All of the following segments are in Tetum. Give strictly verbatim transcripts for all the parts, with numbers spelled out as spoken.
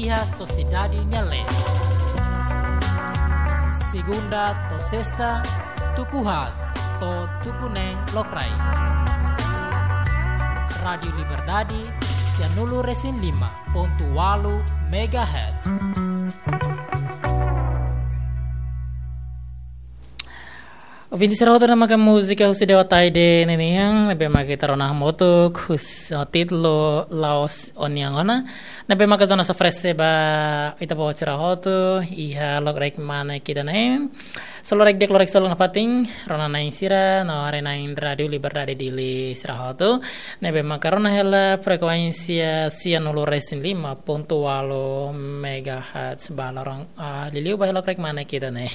Sosiedade nia leet. Segunda to'o sesta, tuku haat to'o tuku neen lokraik. Rádiu Liberdade, sianulu resin lima pontu ualu megahertz. Ouvinte sira hotu, ne'e maka múzika husi Dewa Taide ninian, ne'ebé maka ita rona hamutuk, hus-, ah, títulu La'ós Ó-nian Ona, ne'ebé maka Jonas oferese ba ita-boot sira hotu, iha lokraik mane ida-ne'e. Solo rek dek lorek solo nafatin, rona-na'in sira, no haree-na'in Rádiu Liberdade Dili sira hotu, ne'ebé maka rona hela frekuénsia sianulu resin lima pontu ualu megahertz ba loron, ah, liuliu ba iha lokraik mane ida-ne'e.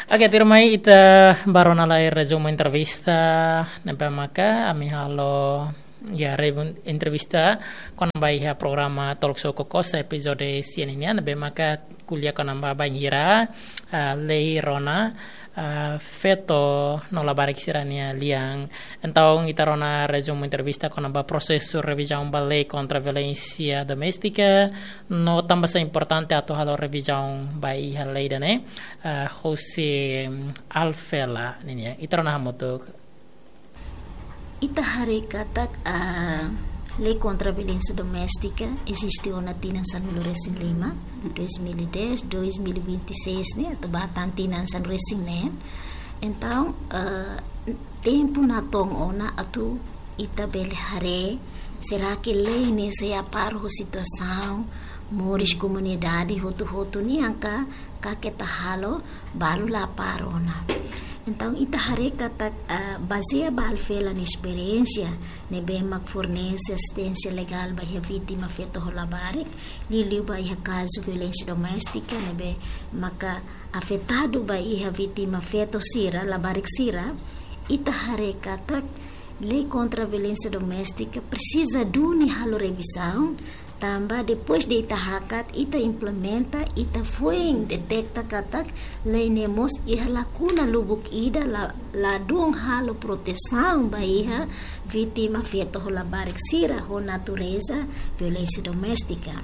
Oke, tuirmai ita bá rona lai rezumu entrevista, ne'ebé maka ami halo, ya, resumu entrevista kona-ba iha programa Talk Show Kokosa epizode sia ninian, ne'ebé maka ko'alia kona-ba bainhira, ah, lei rona, ah, feto no labarik sira-nia lian. Entaun, ita rona rezumu entrevista kona-ba prosesu revizaun ba lei kontra violénsia doméstika, no tanbasá importante atu halo revizaun ba iha lei ida-ne'e, ah, husi, mm, Alfela ninian. Ita rona hamutuk. Ita haree katak, ah, lei kontra violénsia doméstika eziste ona tinan sanulu resin lima, dois mil e dez, dois mil e vinte e seis ne'e, atu bá tan tinan sanulu resin neen. Entaun, ah, tempu natoon ona atu ita bele haree, será que lei ne'e sei aparo ho situasaun moris komunidade hotu-hotu nian ka, ka keta halo, balu la aparo ona. Entaun, ita haree katak, ah, bazeia ba Alfela nia esperiénsia, ne'ebé mak fornese asisténsia legál ba iha vítima feto ho labarik, liuliu ba iha kazu violénsia doméstika, ne'ebé maka afetadu ba iha vítima feto sira, labarik sira, ita haree katak lei kontra violénsia doméstika presiza duni halo revizaun, tanba depois de ita hakat, ita implementa, ita foin deteta katak lei ne'e mós iha lakuna lubuk ida, la, ladún halo protesaun ba iha vítima feto ho labarik sira ho natureza violénsia doméstika.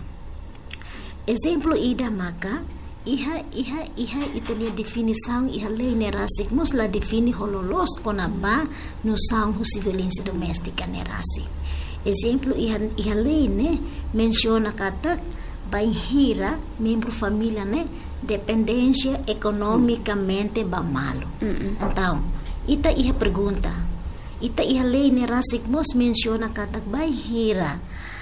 Ezemplu ida maka, iha, iha, iha ita-nia definisaun iha lei ne'e rasik mós la define ho loloos kona-ba nosaun husi violénsia doméstika ne'e rasik. Ezemplu, iha, iha lei ne'e mensiona katak bainhira membru família ne'e dependénsia ekonomikamente ba malu. Mm-mm. Entaun, ita iha pergunta, ita iha lei ne'e rasik mós mensiona katak bainhira,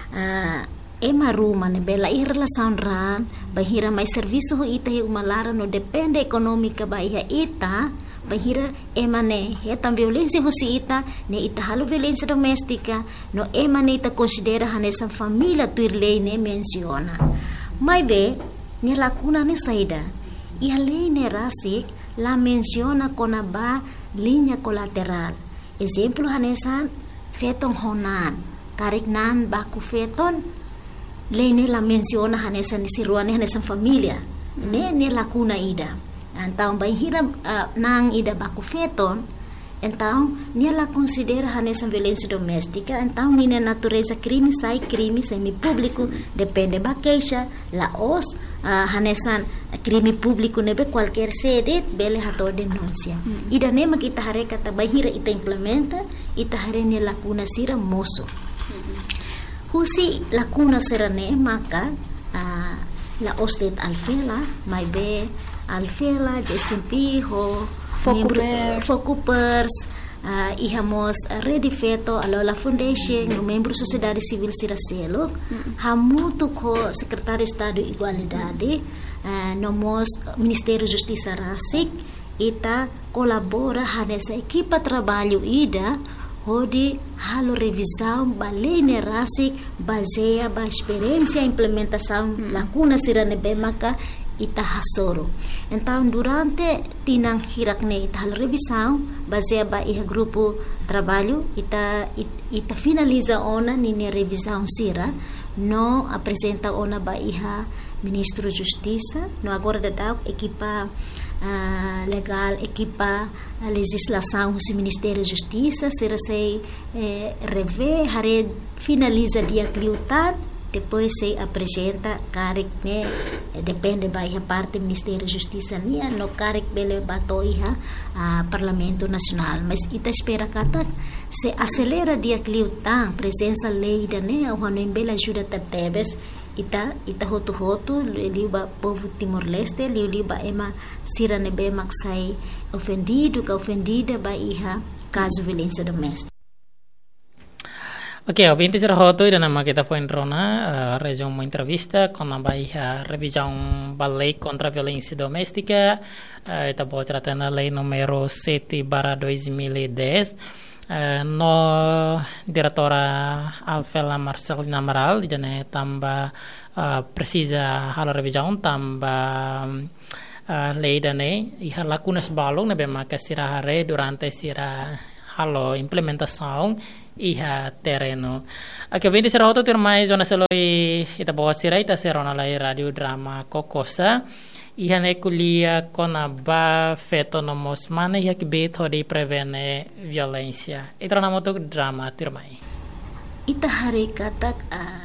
ah, ema ruma ne'ebé la iha relasaun raan, bainhira mai servisu ho ita iha uma laran no depende ekonómika ba iha ita, bainhira ema ne'e hetan violénsia husi ita, ne'e ita halo violénsia doméstika, no ema ne'e ita konsidera hanesan família tuir lei ne'e mensiona. Maibé, nia lakuna ne'e saida? Iha lei ne'e rasik la mensiona kona-ba liña kolaterál. Ezemplu hanesan feton ho naan, karik naan baku feton, lei ne'e la mensiona hanesan isi rua ne'e hanesan família. Hmm. Ne'e, ne'e lakuna ida. Entaun, bainhira, ah, naan ida baku feton, entaun, nia la konsidera hanesan violénsia doméstika, entaun, ninia natureza krime sai krime semi-públiku, depende ba keixa, la'ós, ah, hanesan krime públiku ne'ebé kualkér sé de'it bele hato'o denúnsia. Mm-mm. Ida-ne'e mak ita haree katak bainhira ita implementa, ita haree nia lakuna sira mosu. Mm-mm. Husi lakuna sira-ne'e maka, ah, la'ós de'it Alfela, maibé Alfela, J S M P ho Fokupers. Membru, Fokupers, ah, iha mós, ah, Rede Feto, Alola Foundation, no membru sosiedade sivíl sira seluk, mm, hamutuk ho Sekretáriu Estadu Igualdade, ah, no mós Ministériu Justisa rasik, ita kolabora hanesan ekipa traballu ida, hodi halo revizaun ba lei ne'e rasik, bazeia ba esperiénsia implementasaun, mm, lakuna sira ne'ebé maka ita hasoru. Entaun, durante tinan hirak ne'e ita halo revizaun, bazeia ba iha grupu traballu, ita, it-, ita finaliza ona ninia revizaun sira, no aprezenta ona ba iha Ministru Justisa, no agora daudaun ekipa, ah, legál, ekipa, ah, lejizlasaun husi Ministériu Justisa, sira sei, eh, revee, haree finaliza di'ak liután, Depois sei aprezenta karik ne'e, eh, depende ba iha parte Ministériu Justisa nian, no karik bele ba to'o iha, ah, Parlamentu Nasionál. Mas ita espera katak sei aselera di'ak liután prezensa lei ida-ne'e, ha'u hanoin bele ajuda tebetebes ita, ita hotu-hotu, liuliu ba povu Timor-Leste, liuliu ba ema sira ne'ebé mak sai ofendidu ka ofendida ba iha kazu violénsia doméstika. Oke, ouvinte sira hotu, ida-ne'e mak ita foin rona, eh, rezumu entrevista kona-ba iha revizaun ba lei kontra violénsia doméstika, eh, ita-boot sira hatene lei númeru sete barra dois mil e dez, eh, no diretora Alfela Marcelina Amaral, ida-ne'e tanba, eh, presiza halo revizaun tanba, eh, lei ida-ne'e iha lakunas balun ne'ebé maka sira haree durante sira halo implementasaun iha terrenu. Oke, ouvinte sira hotu, tuirmai jornál seloi ita-boot sira, ita sei rona lai Rádiu Drama Kokosa. Iha ne'e ko'alia kona-ba feto no mós mane iha kbiit hodi prevene violénsia. Ita rona hamutuk Drama tuirmai. Ita haree katak, ah,